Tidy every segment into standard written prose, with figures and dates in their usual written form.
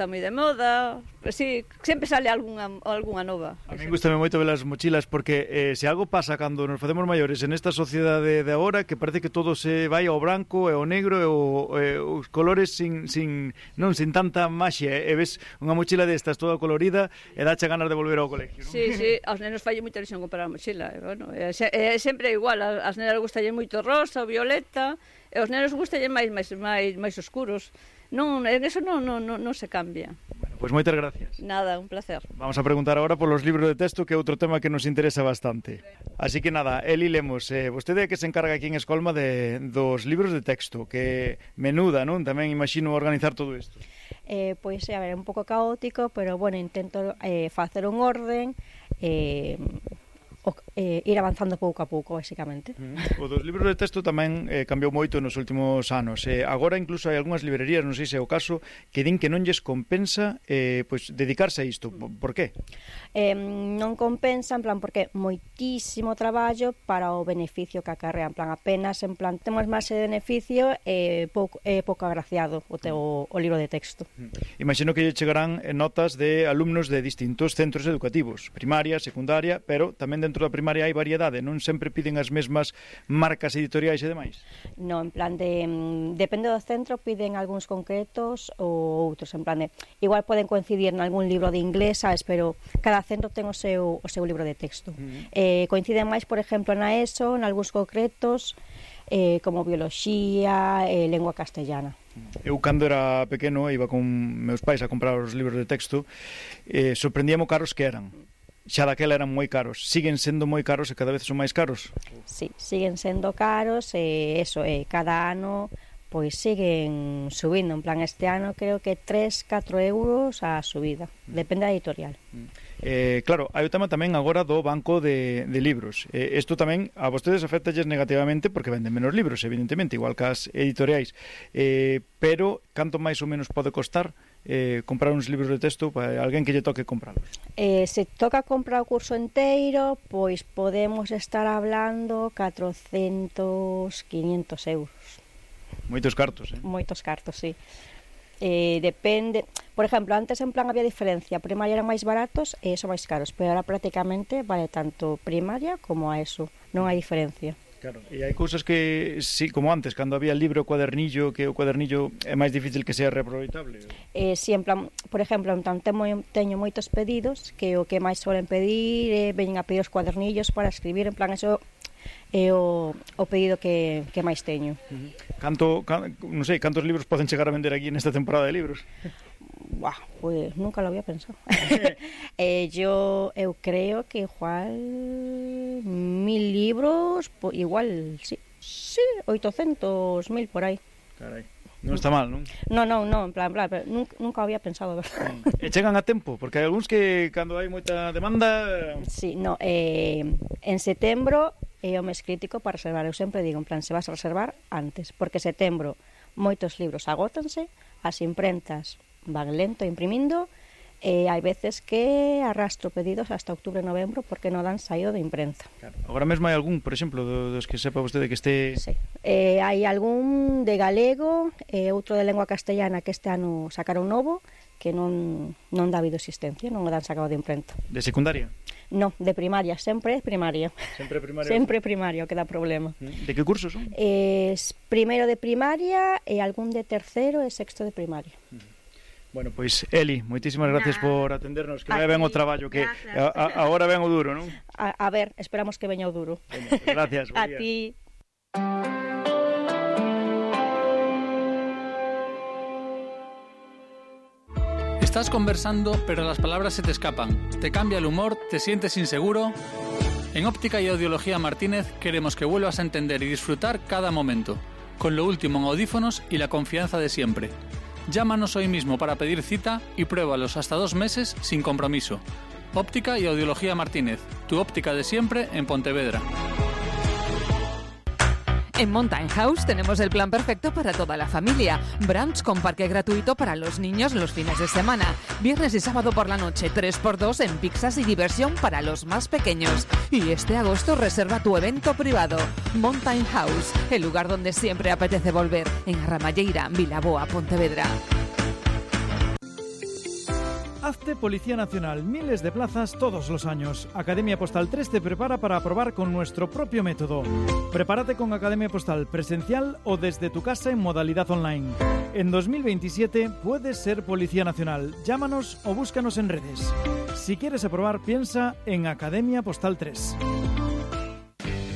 está moi de moda, pues sí, sempre sale algunha nova. A mí gustame moito ver as mochilas porque se algo pasa cando nos facemos maiores en esta sociedade de agora que parece que todo se vai ao branco e ao negro e os colores sin tanta maxia, e ves unha mochila destas toda colorida e dache ganas de volver ao colegio, non? Sí, aos nenos falle moita ilusión comprar a mochila, bueno, é sempre igual, as nenas gustalle moito rosa, violeta, e os nenos gustalle máis oscuros. Non, en eso non se cambia. Bueno, pois moitas gracias. Nada, un placer. Vamos a preguntar agora polos libros de texto, que é outro tema que nos interesa bastante. Así que nada, Eli Lemos, vostede é que se encarga aquí en Escolma dos libros de texto, que menuda, non? Tamén imagino organizar todo isto. Pois, a ver, é un pouco caótico, pero, bueno, intento facer un orden, ir avanzando pouco a pouco, basicamente. O dos libros de texto tamén cambiou moito nos últimos anos. Agora incluso hai algunhas librerías, non sei se é o caso, que din que non lles compensa pois dedicarse a isto. Por qué? Non compensa, en plan, porque moitísimo traballo para o beneficio que acarrea, en plan, apenas, en plan, temos máis de beneficio e pouco agraciado o libro de texto. Imagino que lle chegarán notas de alumnos de distintos centros educativos, primaria, secundaria, pero tamén dentro da primaria hai variedade, non sempre piden as mesmas marcas editoriais e demais? Non, en plan depende do centro, piden algúns concretos ou outros, en plan igual poden coincidir en algún libro de inglés, sabes, pero cada centro ten o seu libro de texto. Coinciden máis, por exemplo, na ESO, en algúns concretos, como bioloxía, lengua castellana. Eu, cando era pequeno, iba con meus pais a comprar os libros de texto, sorprendíamos caros que eran. Xa daquela eran moi caros. Siguen sendo moi caros e cada vez son máis caros? Sí, siguen sendo caros e cada ano pois siguen subindo. En plan, este ano creo que 3-4 euros a subida. Depende da editorial. Claro, hai o tema tamén agora do banco de libros. Isto tamén a vostedes afectalles negativamente porque venden menos libros, evidentemente, igual que as editoriais. Pero, canto máis ou menos pode costar comprar uns libros de texto para alguén que lle toque compralos? Se toca comprar o curso inteiro, pois podemos estar hablando 400, 500 euros. Moitos cartos, Moitos cartos, sí. Depende, por exemplo, antes en plan había diferencia, primaria eran máis baratos e son máis caros, pero ahora prácticamente vale tanto primaria como a ESO, non hai diferencia. Claro, e hai cousas que, sí, como antes, cando había el libro o cuadernillo, que o cuadernillo é máis difícil que sea reaproveitable. Sí, en plan, por exemplo, en plan, teño moitos pedidos que o que máis suelen pedir veñen a pedir os cuadernillos para escribir, en plan, eso é o pedido que máis teño. Non sei, cantos libros poden chegar a vender aquí nesta temporada de libros? Pues nunca lo había pensado. Eu creo que igual 1000 libros, igual, sí, 800, 1000 por aí. Carai, non está mal, non? Non, en plan, pero nunca había pensado, verdad. E chegan a tempo, porque hai algúns que cando hai moita demanda... Sí, en setembro é o mes crítico para reservar. Eu sempre digo, en plan, se vas a reservar antes, porque setembro moitos libros agótanse, as imprentas van lento imprimindo, e hai veces que arrastro pedidos hasta outubro e novembro porque non dan saído de imprensa. Claro. Agora mesmo hai algún, por exemplo, dos que sepa vostede que este... Sí. Hai algún de galego e outro de lengua castellana que este ano sacaron novo, que non dá habido existencia, non o dan sacado de imprenta. De secundaria? No, de primaria, sempre é primaria. Sempre primaria? Sempre primaria, que dá problema. De que cursos son? Primeiro de primaria e algún de terceiro e sexto de primaria. Bueno, pois, Eli, moitísimas gracias por atendernos, que vai ben o traballo, que agora ven o duro, non? A ver, esperamos que veña o duro. Bueno, pues gracias. A ti. Estás conversando, pero las palabras se te escapan. Te cambia el humor, te sientes inseguro. En Óptica y Audiología Martínez queremos que vuelvas a entender y disfrutar cada momento, con lo último en audífonos y la confianza de siempre. Llámanos hoy mismo para pedir cita y pruébalos hasta 2 meses sin compromiso. Óptica y Audiología Martínez, tu óptica de siempre en Pontevedra. En Mountain House tenemos el plan perfecto para toda la familia. Brunch con parque gratuito para los niños los fines de semana. Viernes y sábado por la noche, 3x2 en pizzas y diversión para los más pequeños. Y este agosto reserva tu evento privado. Mountain House, el lugar donde siempre apetece volver. En Ramalleira, Vilaboa, Pontevedra. Hazte Policía Nacional, miles de plazas todos los años. Academia Postal 3 te prepara para aprobar con nuestro propio método. Prepárate con Academia Postal presencial o desde tu casa en modalidad online. En 2027 puedes ser Policía Nacional. Llámanos o búscanos en redes. Si quieres aprobar, piensa en Academia Postal 3.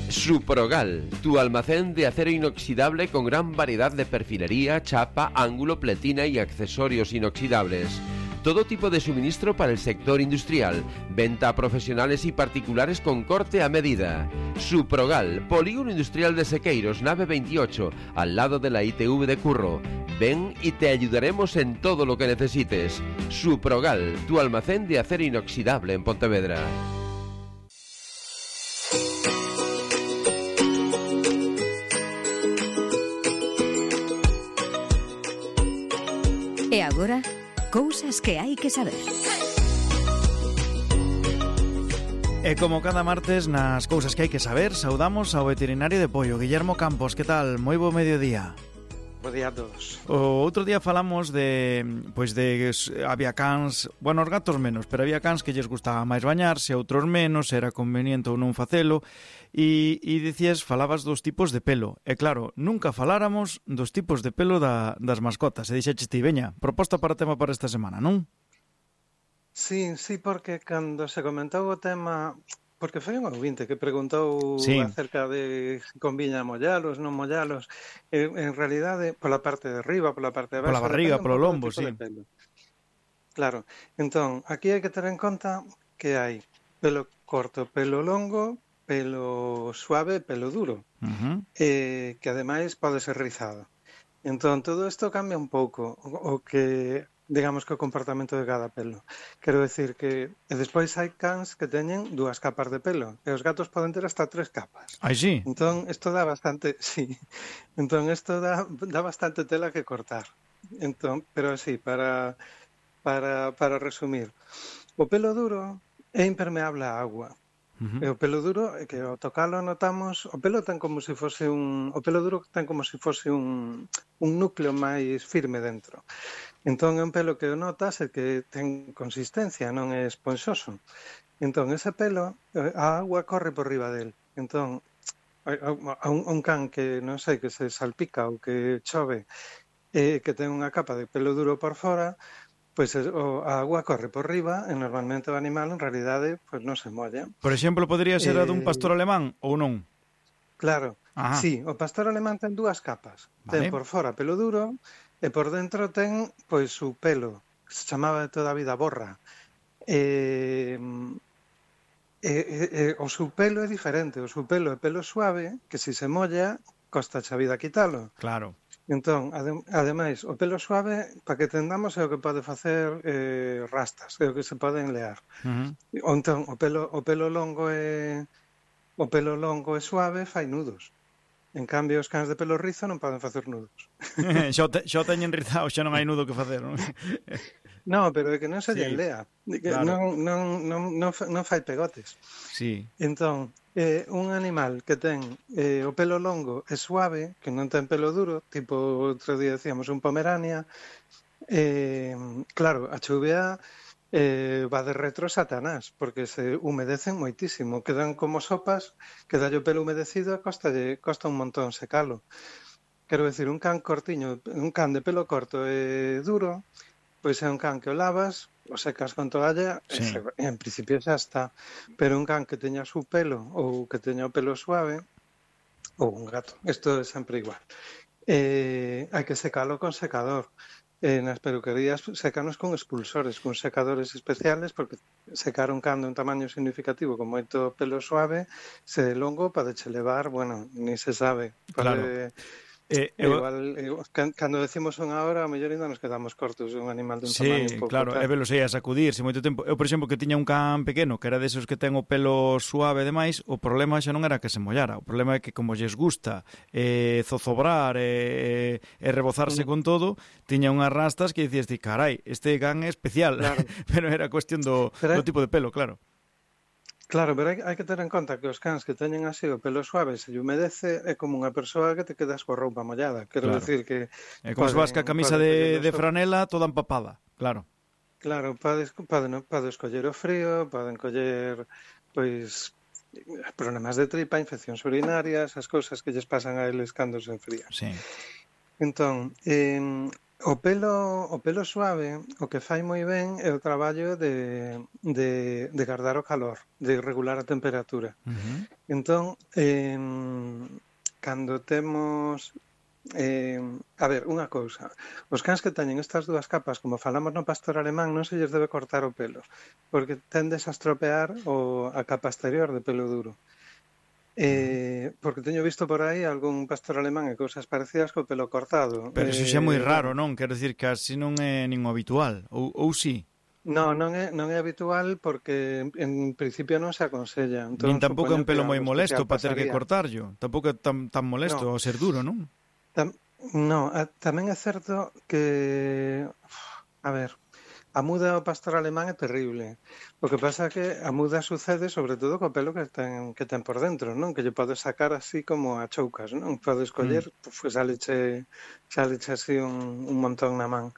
Suprogal, tu almacén de acero inoxidable con gran variedad de perfilería, chapa, ángulo, pletina y accesorios inoxidables. Todo tipo de suministro para el sector industrial. Venta a profesionales y particulares con corte a medida. Suprogal, Polígono Industrial de Sequeiros, nave 28, al lado de la ITV de Curro. Ven y te ayudaremos en todo lo que necesites. Suprogal, tu almacén de acero inoxidable en Pontevedra. E agora, cousas que hai que saber. E como cada martes nas cousas que hai que saber, saudamos ao veterinario de Pollo, Guillermo Campos. Que tal? Moi bo mediodía. Bo día a todos. O outro día falamos de había cans, bueno, os gatos menos, pero había cans que lles gustaba máis bañarse, outros menos, era conveniente ou non facelo, e falabas dos tipos de pelo. E claro, nunca faláramos dos tipos de pelo das mascotas. E dixeches ti, veña, proposta para o tema para esta semana, non? Sí, porque cando se comentou o tema, porque foi un ouvinte que preguntou acerca de conviña mollalos, non mollalos, en realidade, pola parte de arriba, pola parte de abaixo, pola barriga, polo lombo, sí. Claro, entón, aquí hai que ter en conta que hai pelo corto, pelo longo, pelo suave, pelo duro, que ademais pode ser rizado. Entón, todo isto cambia un pouco o que, digamos, que o comportamento de cada pelo. Quero decir que despois hai cans que teñen 2 capas de pelo, e os gatos poden ter hasta 3 capas. Ai, sí? Entón, isto dá bastante, dá bastante tela que cortar. Entón, pero así, para resumir, o pelo duro é impermeable á agua. E o pelo duro, que ao tocalo notamos, o pelo duro ten como se fose un núcleo máis firme dentro. Entón é un pelo que o notas e que ten consistencia, non é esponxoso. Entón ese pelo, a agua corre por riba del. Entón, a un can que, non sei, que se salpica ou que chove, que ten unha capa de pelo duro por fora, pois a agua corre por riba e normalmente o animal en realidade pois non se molla. Por exemplo, podría ser a dun pastor alemán ou non? Claro, sí, o pastor alemán ten 2 capas. Ten por fora pelo duro e por dentro ten pois o pelo, que se chamaba de toda a vida borra. O seu pelo é diferente, o seu pelo é pelo suave, que se se molla, costa a vida quitalo. Claro. Entón, ademais, o pelo suave, para que tendamos, é o que pode facer rastas, é o que se poden lear. Entón, o pelo longo é suave, fai nudos. En cambio, os cans de pelo rizo non poden facer nudos. Xa teñen rizado, xa non hai nudo que facer, non? No, pero é que non se lle lea. Claro. Non fai pegotes. Sí. Entón, un animal que ten o pelo longo e suave, que non ten pelo duro, tipo outro día decíamos un pomerania, claro, a chuvia va de retro Satanás, porque se humedecen moitísimo, quedan como sopas, queda o pelo humedecido e costa un montón secalo. Quero decir, un can cortiño, un can de pelo corto e duro, pois é un can que o lavas, o secas con toalla, en principio xa está. Pero un can que teña su pelo ou que teña o pelo suave, ou un gato, isto é sempre igual. Hai que secalo con secador. Nas peluquerías secanos con expulsores, con secadores especiales, porque secar un can de un tamaño significativo con moito pelo suave, se longo podeche levar, bueno, ni se sabe. Claro. Igual, cando decimos unha hora, a mellor ainda nos quedamos cortos un animal dun tamaño un pouco. Claro, é velo sei a sacudirse moito tempo. Eu, por exemplo, que tiña un can pequeno, que era desos que ten o pelo suave demais, o problema xa non era que se mollara, o problema é que como lles gusta zozobrar e rebozarse con todo, tiña unhas rastas que dicías ti, carai, este can é especial, claro. Pero era cuestión do tipo de pelo, claro. Claro, pero hai que ter en conta que os cans que teñen así o pelo suave se lle humedece é como unha persoa que te quedas coa roupa mollada. Quero decir que... É como se vas ca camisa de franela toda empapada, claro. Claro, pode escoller o frío, poden coller, pois, problemas de tripa, infeccións urinarias, as cousas que lles pasan a eles cando se enfrían. Sí. Entón, o pelo suave, o que fai moi ben é o traballo de guardar o calor, de regular a temperatura. Entón, cando temos... a ver, unha cousa. Os cans que teñen estas dúas capas, como falamos no pastor alemán, non se lles debe cortar o pelo, porque tendes a estropear a capa exterior de pelo duro. Porque teño visto por aí algún pastor alemán e cousas parecidas co pelo cortado. Pero iso xa é moi raro, non? Quero dicir que así non é nin habitual, ou sí? Non é habitual porque en principio non se aconsella. Entón, nin tampouco é un pelo moi molesto para ter que cortarlo. Tampouco é tan molesto ao ser duro, non? Tamén é certo que... A ver... A muda ao pastor alemán é terrible. O que pasa é que a muda sucede sobre todo co pelo que ten por dentro, non? Que lle podes sacar así como a choucas, non? Podes coller, pues saleche así un montón na man.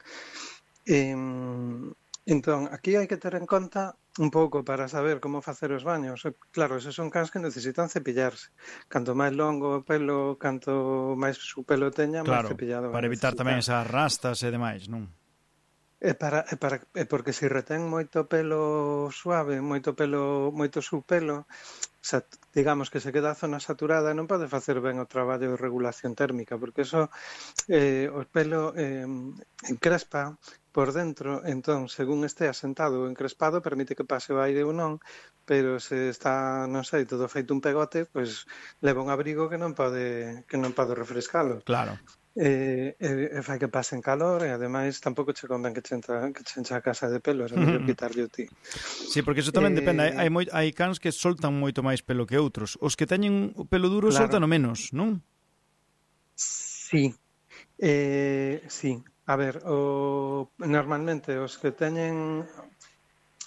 Entón, aquí hai que ter en conta un pouco para saber como facer os baños. Claro, esos son cans que necesitan cepillarse. Canto máis longo o pelo, canto máis o pelo teña, máis cepillado. Para evitar tamén esas rastas e demais, non? Porque se retén moito pelo suave, moito subpelo, digamos que se queda a zona saturada, non pode facer ben o traballo de regulación térmica, porque eso o pelo encrespa por dentro, entón, según este asentado ou encrespado, permite que pase o aire ou non, pero se está, non sei, todo feito un pegote, pois leva un abrigo que non pode refrescalo. Claro. Fai que pasen calor e ademais tampouco che convén que che encha a casa de pelo, é mellor quitarlle o ti. Sí, porque iso tamén depende, hai cans que soltan moito máis pelo que outros. Os que teñen o pelo duro soltan o menos, non? Sí. Sí. A ver, normalmente os que teñen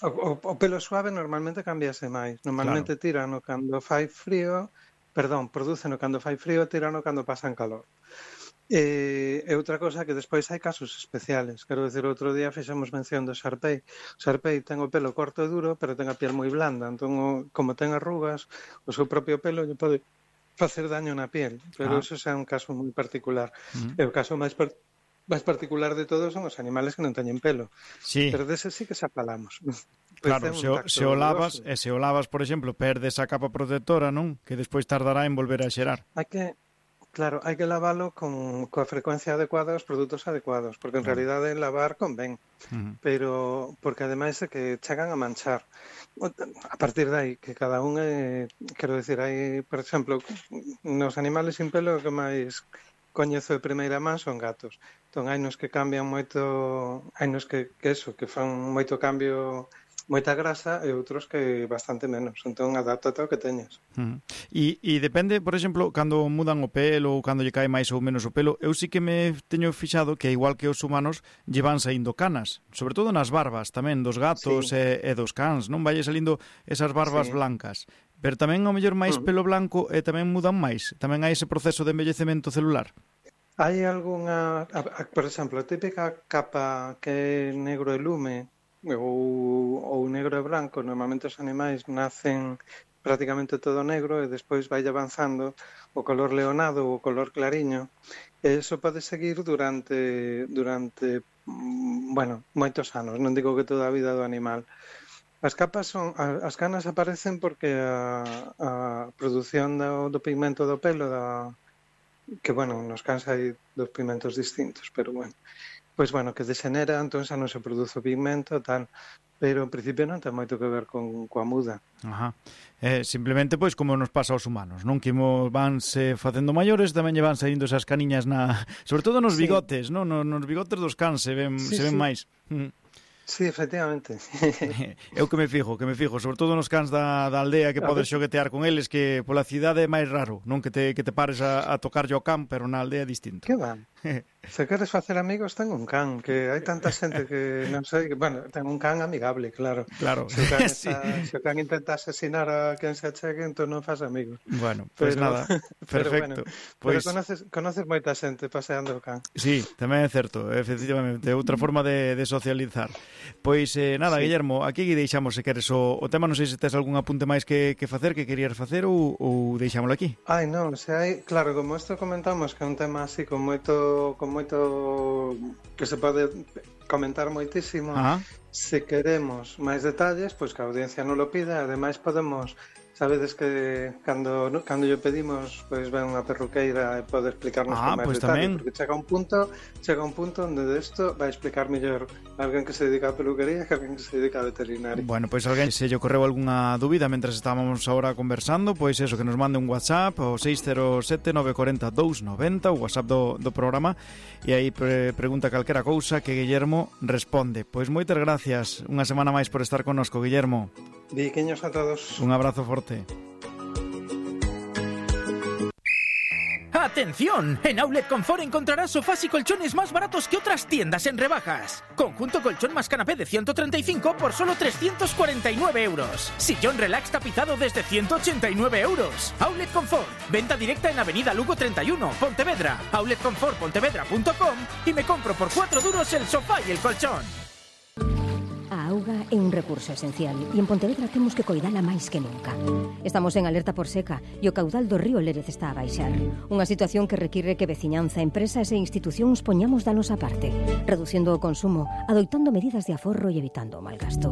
o pelo suave normalmente cambiase máis. Normalmente tirano cando fai frío, produceno cando fai frío, tirano cando pasan calor. E outra cosa que despois hai casos especiales. Quero dicir, outro día fixemos mención do Sharpei. O Sharpei ten o pelo corto e duro, pero ten a piel moi blanda. Entón, como ten arrugas, o seu propio pelo lle pode facer daño na piel. Pero eso é un caso moi particular. E o caso máis particular de todos son os animales que non teñen pelo. Sí. Pero dese sí que xa falamos. Claro, se o lavas, por exemplo, perdes a capa protectora, non? Que despois tardará en volver a xerar. Claro, hai que lavalo coa frecuencia adecuada aos produtos adecuados, porque en realidade lavar convén, pero porque ademais é que chegan a manchar. A partir de aí, que cada un quero dicir, hai, por exemplo, nos animales sin pelo que máis coñezo de primeira man son gatos. Entón, hai nos que cambian moito, hai nos que fan moito cambio, moita grasa, e outros que bastante menos. Entón, adáptate ao que teñas. E depende, por exemplo, cando mudan o pelo ou cando lle cae máis ou menos o pelo, eu sí que me teño fixado que, igual que os humanos, llevan saindo canas, sobre todo nas barbas tamén dos gatos e dos cans, non? Valle salindo esas barbas blancas. Pero tamén, ao mellor, máis pelo blanco e tamén mudan máis. Tamén hai ese proceso de envellecemento celular. Hai algunha, por exemplo, a típica capa que é negro e lume, ou negro e branco. Normalmente os animais nacen prácticamente todo negro e despois vai avanzando o color leonado ou o color clariño, e iso pode seguir durante moitos anos, non digo que toda a vida do animal. As canas aparecen porque a produción do pigmento do pelo, que, nos cans hai dos pigmentos distintos, pero que degenera, entón xa non se produce o pigmento, tal, pero en principio non ten moito que ver coa muda. Simplemente, como nos pasa aos humanos, non? Que vanse facendo maiores, tamén lle van saindo esas caniñas sobre todo nos bigotes, non? Nos bigotes dos cans se ven máis. Sí, efectivamente. Eu que me fijo, sobre todo nos cans da aldea, que podes xoguetear con eles, que pola cidade é máis raro, non? Que te pares a tocarlle ao can, pero na aldea é distinto. Que van? Se queres facer amigos, ten un can, que hai tanta xente que non sei, bueno, ten un can amigable, claro. Claro. Se o can, Sí. se o can intenta asesinar a quen se achegue, entón non fas amigos. Bueno, pues nada, perfecto. Pero Pois conoces moita xente paseando o can. sí, tamén é certo, efectivamente, outra forma de socializar. Pois nada, Sí. Guillermo, aquí deixamos se queres o tema, non sei se tes algún apunte máis que facer, que querías facer ou deixámoslo aquí. Ai, non, se hai, claro, como isto comentamos que é un tema así con moito que se pode comentar moitísimo. Ajá. Se queremos máis detalles, pois que a audiencia non lo pida, ademais podemos, sabedes que cando lle pedimos, pois ven unha perruqueira e pode explicarnos con máis pois detalle, tamén. porque chega un punto onde desto vai explicar mellor alguén que se dedica a peluquería que alguén que se dedica a veterinario. Bueno, pois alguén se lle ocorreu algunha dúbida mentre estábamos agora conversando, pois eso, que nos mande un WhatsApp o 607 940 290, o WhatsApp do programa, e aí pregunta calquera cousa que Guillermo responde. Pois moitas gracias, unha semana máis por estar connosco, Guillermo. Biquiños a todos. Un abrazo forte. ¡Atención! En Outlet Confort encontrarás sofás y colchones más baratos que otras tiendas en rebajas. Conjunto colchón más canapé de 135 por solo 349 euros. Sillón relax tapizado desde 189 euros. Outlet Confort. Venta directa en Avenida Lugo 31, Pontevedra. outletconfortpontevedra.com y me compro por 4 duros el sofá y el colchón. A auga é un recurso esencial e en Pontevedra temos que coidala máis que nunca. Estamos en alerta por seca e o caudal do río Lérez está a baixar. Unha situación que require que veciñanza, empresas e institucións poñamos da nosa parte, reducindo o consumo, adoitando medidas de aforro e evitando o malgasto.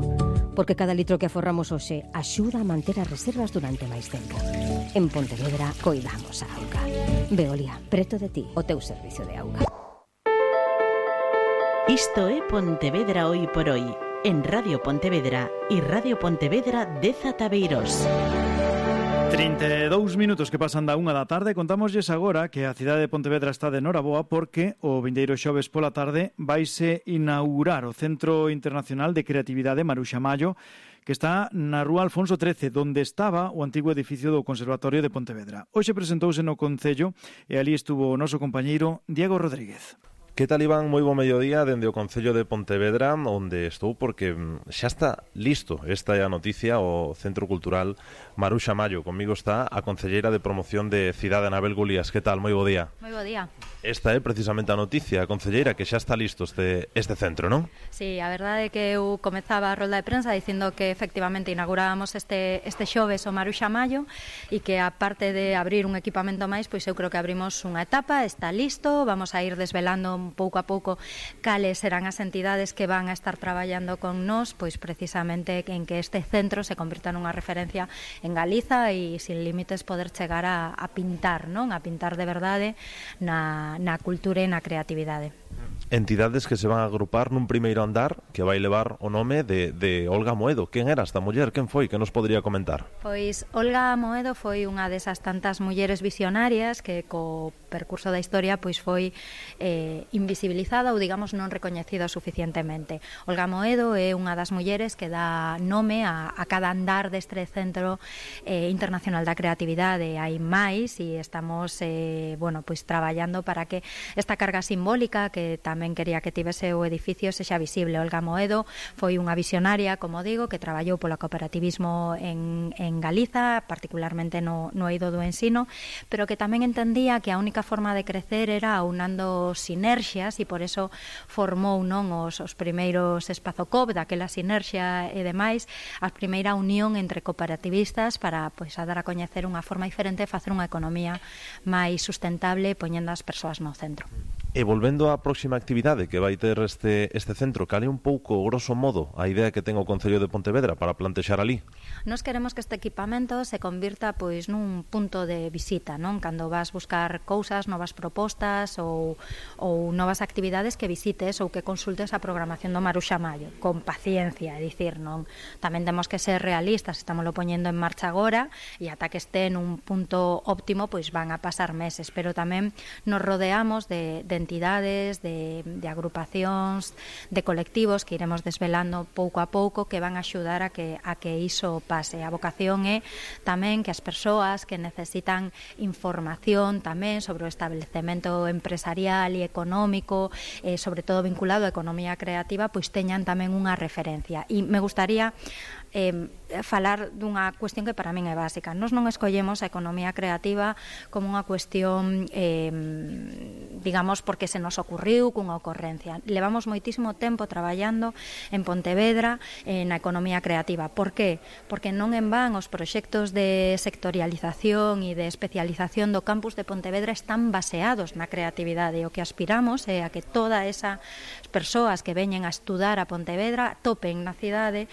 Porque cada litro que aforramos hoxe axuda a manter as reservas durante máis tempo. En Pontevedra coidamos a auga. Veolia, preto de ti, o teu servicio de auga. Isto é Pontevedra Hoy por Hoy, en Radio Pontevedra e Radio Pontevedra de Zataveiros. 32 minutos que pasan da 1 da tarde. Contámoslles agora que a cidade de Pontevedra está de noraboa porque o vindeiro xoves pola tarde vaise inaugurar o Centro Internacional de Creatividade Maruxa Mallo, que está na Rúa Alfonso XIII, donde estaba o antigo edificio do Conservatorio de Pontevedra. Hoxe presentouse no Concello e ali estuvo o noso compañeiro Diego Rodríguez. Que tal, Iván? Moi bo mediodía dende o Concello de Pontevedra, onde estou porque xa está listo. Esta é a noticia, o Centro Cultural Maruxa Mallo. Comigo está a concelleira de promoción de Cidade, Anabel Gulías. Que tal? Moi bo día. Moi bo día. Esta é precisamente a noticia, a concelleira, que xa está listo este centro, non? Sí, a verdade é que eu comezaba a rolda de prensa dicindo que efectivamente inaugurábamos este xoves o Maruxa Mallo e que aparte de abrir un equipamento máis, pois eu creo que abrimos unha etapa, está listo, vamos a ir desvelando pouco a pouco cales serán as entidades que van a estar traballando con nós, pois precisamente en que este centro se convirta nunha referencia en Galiza e sin límites poder chegar a pintar, non? A pintar de verdade na cultura e na creatividade. Entidades que se van a agrupar nun primeiro andar que vai levar o nome de Olga Moedo. Quen era esta muller? Quen foi? Que nos podría comentar? Pois Olga Moedo foi unha desas tantas mulleres visionarias que co percurso da historia pois foi invisibilizada ou digamos non recoñecida suficientemente. Olga Moedo é unha das mulleres que dá nome a cada andar deste Centro Internacional da Creatividade. Hai máis e estamos pois traballando para que esta carga simbólica que tamén quería que tivese o edificio sexa visible. Olga Moedo foi unha visionaria, como digo, que traballou polo cooperativismo en Galiza, particularmente no eido do ensino, pero que tamén entendía que a única forma de crecer era aunando sinerxias e por eso formou non os primeiros Espazocop, daquela sinerxia e demais, a primeira unión entre cooperativistas para pois a dar a coñecer unha forma diferente de facer unha economía máis sustentable poñendo as persoas no centro. E volvendo á próxima actividade que vai ter este centro, cal é un pouco, grosso modo, a idea que ten o Concello de Pontevedra para plantexar ali? Nos queremos que este equipamento se convirta pois nun punto de visita, non? Cando vas buscar cousas, novas propostas ou novas actividades que visites ou que consultes a programación do Maruxa Mallo, con paciencia, é dicir, non? Tamén temos que ser realistas, estámoslo poñendo en marcha agora e ata que este nun punto óptimo, pois van a pasar meses, pero tamén nos rodeamos de entidades, de agrupacións, de colectivos que iremos desvelando pouco a pouco, que van a axudar a que iso pase. A vocación é tamén que as persoas que necesitan información tamén sobre o establecemento empresarial e económico, sobre todo vinculado á economía creativa, pois teñan tamén unha referencia. E me gustaría falar dunha cuestión que para min é básica. Nós non escollemos a economía creativa como unha cuestión digamos porque se nos ocurriu cunha ocorrencia. Levamos moitísimo tempo traballando en Pontevedra na economía creativa. Por qué? Porque non en van os proxectos de sectorialización e de especialización do campus de Pontevedra están baseados na creatividade. O que aspiramos é a que todas esas persoas que veñen a estudar a Pontevedra topen na cidade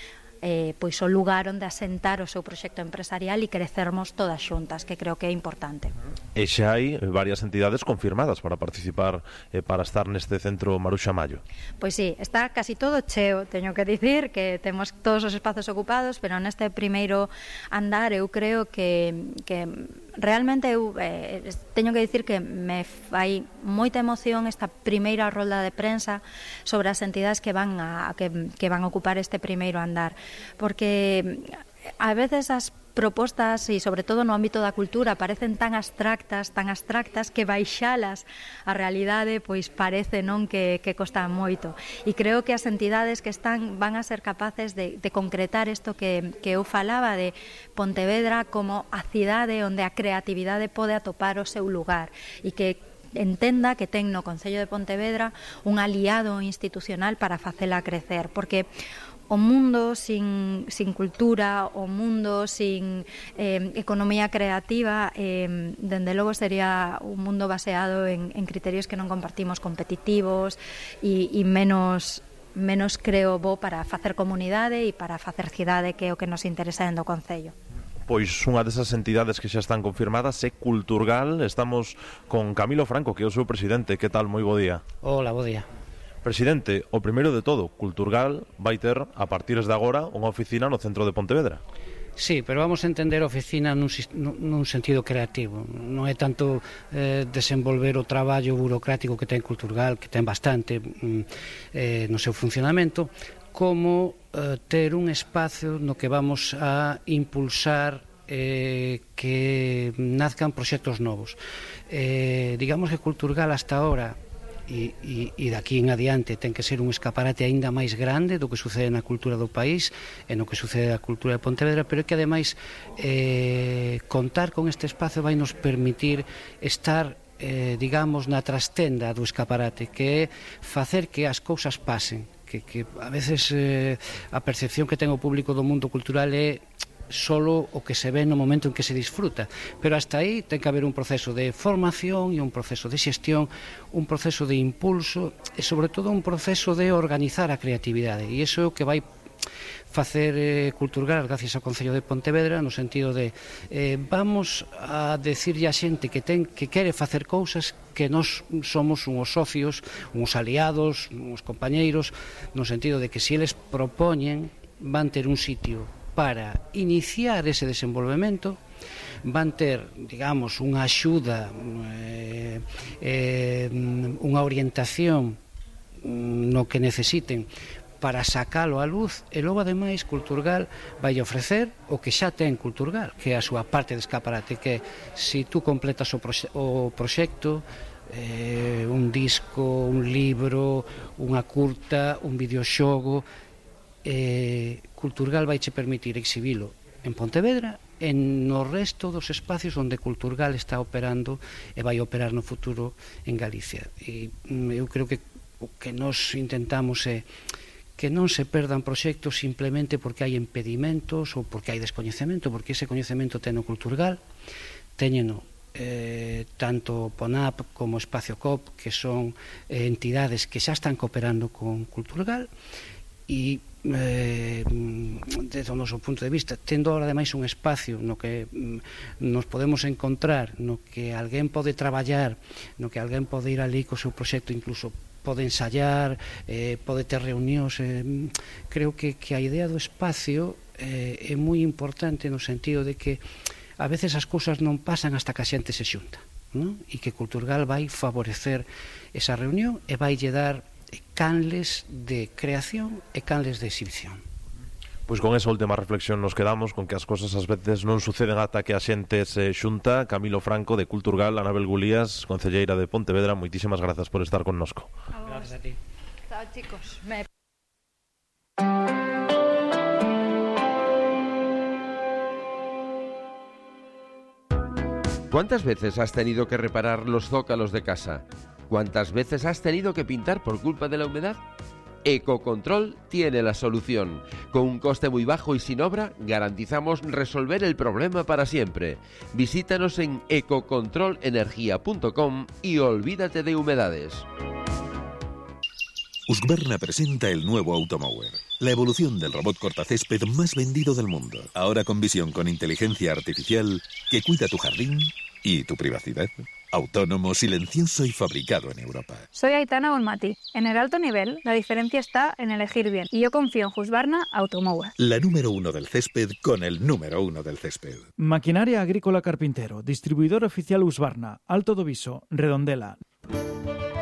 pois o lugar onde asentar o seu proxecto empresarial e crecermos todas xuntas, que creo que é importante. E xa hai varias entidades confirmadas para participar, para estar neste centro Maruxa Mallo. Pois sí, está casi todo cheo, teño que dicir que temos todos os espazos ocupados, pero neste primeiro andar eu creo que realmente eu teño que dicir que me fai moita emoción esta primeira rolda de prensa sobre as entidades que van a ocupar este primeiro andar, porque a veces as propostas e sobre todo no ámbito da cultura parecen tan abstractas que baixalas a realidade pois parece non que costa moito, e creo que as entidades que están van a ser capaces de concretar isto que eu falaba de Pontevedra como a cidade onde a creatividade pode atopar o seu lugar e que entenda que ten no Concello de Pontevedra un aliado institucional para facela crecer, porque o mundo sin cultura, o mundo sin economía creativa, dende logo sería un mundo baseado en criterios que non compartimos, competitivos e menos creo bo para facer comunidade e para facer cidade, que é o que nos interesa dentro do Concello. Pois unha desas entidades que xa están confirmadas é Culturgal. Estamos con Camilo Franco, que é o seu presidente. Que tal? Moi bo día. Hola, bo día. Presidente, o primeiro de todo, Culturgal vai ter, a partir de agora, unha oficina no centro de Pontevedra. Sí, pero vamos a entender a oficina nun sentido creativo. Non é tanto desenvolver o traballo burocrático que ten Culturgal, que ten bastante no seu funcionamento, como ter un espacio no que vamos a impulsar que nazcan proxectos novos. Digamos que Culturgal hasta ahora e daqui en adiante ten que ser un escaparate aínda máis grande do que sucede na cultura do país e no que sucede na cultura de Pontevedra, pero é que ademais contar con este espacio vai nos permitir estar digamos na trastenda do escaparate, que é facer que as cousas pasen, que a veces a percepción que ten o público do mundo cultural é solo o que se ve no momento en que se disfruta, pero hasta aí ten que haber un proceso de formación e un proceso de xestión, un proceso de impulso e sobre todo un proceso de organizar a creatividade, e iso é o que vai facer Culturgal gracias ao Concello de Pontevedra, no sentido de vamos a decirlle a xente que quere facer cousas que nós somos uns socios, uns aliados, uns compañeiros, no sentido de que se eles propoñen van ter un sitio para iniciar ese desenvolvemento, van ter, digamos, unha axuda, unha orientación no que necesiten para sacalo á luz, e logo ademais Culturgal vai ofrecer o que xa ten Culturgal, que é a súa parte de escaparate, que se tú completas o proxecto, un disco, un libro, unha curta, un videoxogo, Culturgal vai che permitir exhibilo en Pontevedra e no resto dos espacios onde Culturgal está operando e vai operar no futuro en Galicia. E eu creo que o que nos intentamos é que non se perdan proxectos simplemente porque hai impedimentos ou porque hai descoñecemento, porque ese coñecemento ten o Culturgal, teñeno tanto PONAP como Espacio COP, que son entidades que xa están cooperando con Culturgal, e desde o noso punto de vista, tendo ahora ademais un espacio no que nos podemos encontrar, no que alguén pode traballar, no que alguén pode ir ali co seu proxecto, incluso pode ensayar, pode ter reunións, creo que a idea do espacio é moi importante no sentido de que a veces as cousas non pasan hasta que a xente se xunta. ¿no? E que Culturgal vai favorecer esa reunión e vai lle dar canles de creación e canles de exhibición. Pois con esa última reflexión nos quedamos, con que as cosas ás veces non suceden ata que a xente se xunta. Camilo Franco, de Culturgal, Anabel Gulías, concelleira de Pontevedra, moitísimas grazas por estar connosco. Gracias a ti. Chao, chicos. ¿Cuántas veces has tenido que reparar los zócalos de casa? ¿Cuántas veces has tenido que pintar por culpa de la humedad? Ecocontrol tiene la solución. Con un coste muy bajo y sin obra, garantizamos resolver el problema para siempre. Visítanos en ecocontrolenergia.com y olvídate de humedades. Husqvarna presenta el nuevo Automower, la evolución del robot cortacésped más vendido del mundo. Ahora con visión con inteligencia artificial que cuida tu jardín y tu privacidad. Autónomo, silencioso y fabricado en Europa. Soy Aitana Bonmatí. En el alto nivel, la diferencia está en elegir bien. Y yo confío en Husqvarna Automower. La número 1 del césped con el número 1 del césped. Maquinaria Agrícola Carpintero, distribuidor oficial Husqvarna, Alto do Viso, Redondela.